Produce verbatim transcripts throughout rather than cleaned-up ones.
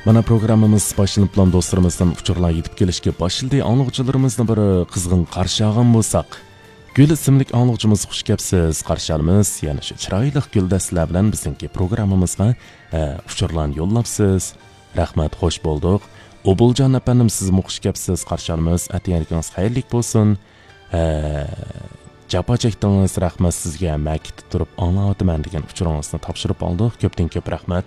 مانا پروگراممىمىز باشلىنىپلا دوستلىرىمىزدىن ئۇچۇرلار يېتىپ كېلىشكە باشلىدى. ئاڭلىغۇچىلىرىمىزنى بىر قىزغىن قارشى ئالغان بولساق. گۈل ئىسىملىك ئاڭلىغۇچىمىز، خۇش كەپسىز، قارشى ئالىمىز. يەنە شۇ چىرايلىق گۈل دەستىلەر بىلەن بىزنىڭكى پروگراممىمىزغا، ئە، ئۇچۇرلارنى يوللاپسىز. رەھمەت، خوش بولدۇق. ئوبۇلجان ئەپەندىم، سىزمۇ خۇش كەپسىز، قارشى ئالىمىز. ئەتىگەنلىكىڭىز خەيرلىك بولسۇن. ئە، جاپا چەكتىڭىز، رەھمەت سىزگە، مەكىتتە تۇرۇپ ئاڭلاۋاتىمەن دېگەن ئۇچۇرىڭىزنى تاپشۇرۇپ ئالدۇق. كۆپتىن كۆپ رەھمەت.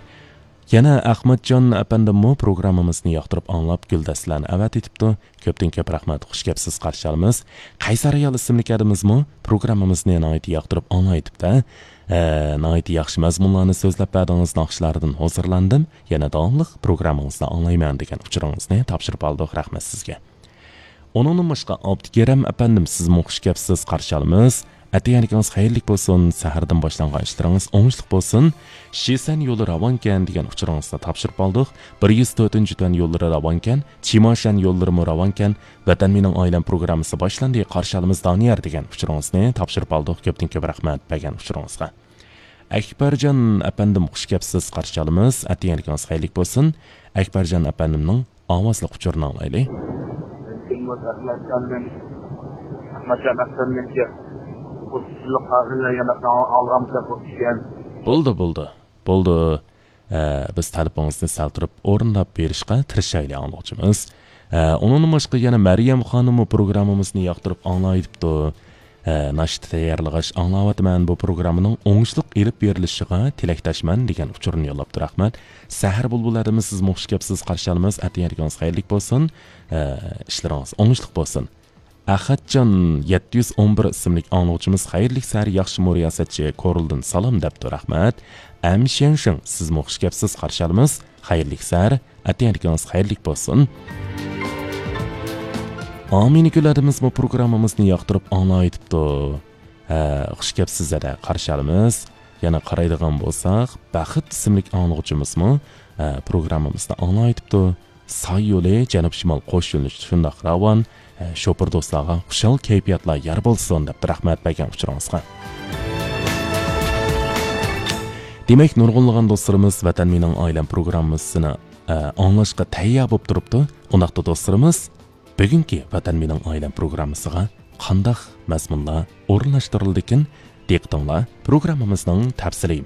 يەنە ئەخمەتجان ئەپەندىممۇ پروگراممىمىزنى ياقتۇرۇپ ئاڭلاپ، گۈل دەستىلەرنى ئەۋەتىۋېتىپتۇ. كۆپتىن كۆپ رەھمەت، خۇش كەپسىز، قارشى ئالىمىز. قەيسەر ئايال ئىسىملىك ئادىمىمىزمۇ پروگراممىمىزنى ناھايىتى ياقتۇرۇپ ئاڭلاۋېتىپتۇ. ئە، ناھايىتى ياخشى مەزمۇنلارنى سۆزلەپ بەردىڭىز، ناخشىلاردىن ھۇزۇرلاندىم. يەنە داۋاملىق پروگراممىڭىزنى ئاڭلايمەن دېگەن ئۇچۇرىڭىزنى تاپشۇرۇپ ئالدۇق. رەھمەت سىزگە. ئۇنىڭدىن باشقا، ئابدۇكېرەم ئەپەندىم، سىزمۇ خۇش كەپسىز، قارشى ئالىمىز. ئەتىگەنلىكىڭىز خەيرلىك بولسۇن، سەھەردىن باشلانغان ئىشلىرىڭىز ئوڭۇشلۇق بولسۇن. شىسەن يولى راۋانكەن دېگەن ئۇچۇرىڭىزنى تاپشۇرۇپ ئالدۇق. بىر يۈز تۆتىنچى تۈەن يوللىرى راۋانكەن، چىماشەن يوللىرىمۇ راۋانكەن. ۋەتەن مېنىڭ ئائىلەم پروگراممىسى باشلاندى، قارشى ئالىمىز دانىيار دېگەن ئۇچۇرىڭىزنى تاپشۇرۇپ ئالدۇق. كۆپتىن كۆپ رەھمەت بەرگەن ئۇچۇرىڭىزغا. ئەكبەرجان ئەپەندىم، خۇش كەپسىز، قارشى ئالىمىز. ئەتىگەنلىكىڭىز خەيرلىك بولسۇن. ئەكبەرجان ئەپەندىمنىڭ ئاۋازلىق ئۇچۇرىنى ئاڭلايلى. ئەخمەتجان ئەپەندىمگە خۇسۇسىيلىق ھازىرلا يەنە ئالغانمىكەن بۇ ئىشكەن. بولدى، بولدى، بولدى. ئە، بىز تەلىپىڭىزنى سەل تۇرۇپ ئورۇنداپ بېرىشقا تىرىشايلى، ئاڭلىغۇچىمىز. ئە، ئۇنىڭدىن باشقا يەنە مەريەم خانىممۇ پروگراممىمىزنى ياقتۇرۇپ ئاڭلاۋېتىپتۇ. ئە، ناشتا تەييارلىغاچ ئاڭلاۋاتىمەن، بۇ پروگراممىنىڭ ئوڭۇشلۇق ئېلىپ بېرىلىشىغا تىلەكداشمەن دېگەن ئۇچۇرنى يوللاپتۇ. رەھمەت. سەھەر بۇلبۇلى ئادىمى، سىزمۇ خۇش كەپسىز، قارشى ئالىمىز. ئەتىگەنلىكىڭىز خەيرلىك بولسۇن. ئە، ئىشلىرىڭىز ئوڭۇشلۇق بولسۇن. ئەخەتجان يەتتە يۈز ئون بىر ئىسىملىك ئاڭلىغۇچىمىز، خەيرلىك سەھەر ياخشىمۇ رىياسەتچى، كورلدىن سالام دەپتۇ. رەھمەت. ئەم شيەنشىڭ، سىزمۇ خۇش كەپسىز، قارشى ئالىمىز. خەيرلىك سەھەر. ئەتىگەنلىكىڭىز خەيرلىك بولسۇن. ئامىنە گۈل ھەدىمىزمۇ پروگراممىمىزنى ياقتۇرۇپ ئاڭلاۋېتىپتۇ. ھە، خۇش كەپسىز ھەدە، قارشى ئالىمىز. يەنە قارايدىغان بولساق، بەخت ئىسىملىك ئاڭلىغۇچىمىزمۇ، ھە، پروگراممىمىزنى ئاڭلاۋېتىپتۇ. ساي يولى، جەنۇب شىمال قوش يۆنىلىش شۇنداق راۋان. ھە، شوپۇر دوستلارغا خۇشال كەيپىياتلار يار بولسۇن دەپتۇ، رەھمەت بەرگەن ئۇچۇرىڭىزغا. دېمەك، نۇرغۇنلىغان دوستلىرىمىز ۋەتەن مېنىڭ ئائىلەم پروگراممىسىنى، ئە، ئاڭلاشقا تەييار بولۇپ تۇرۇپتۇ. ئۇنداقتا دوستلىرىمىز، بۈگۈنكى ۋەتەن مېنىڭ ئائىلەم پروگراممىسىغا قانداق مەزمۇنلار ئورۇنلاشتۇرۇلىدىكىن؟ دىققىتىڭلار پروگراممىمىزنىڭ تەپسىلىي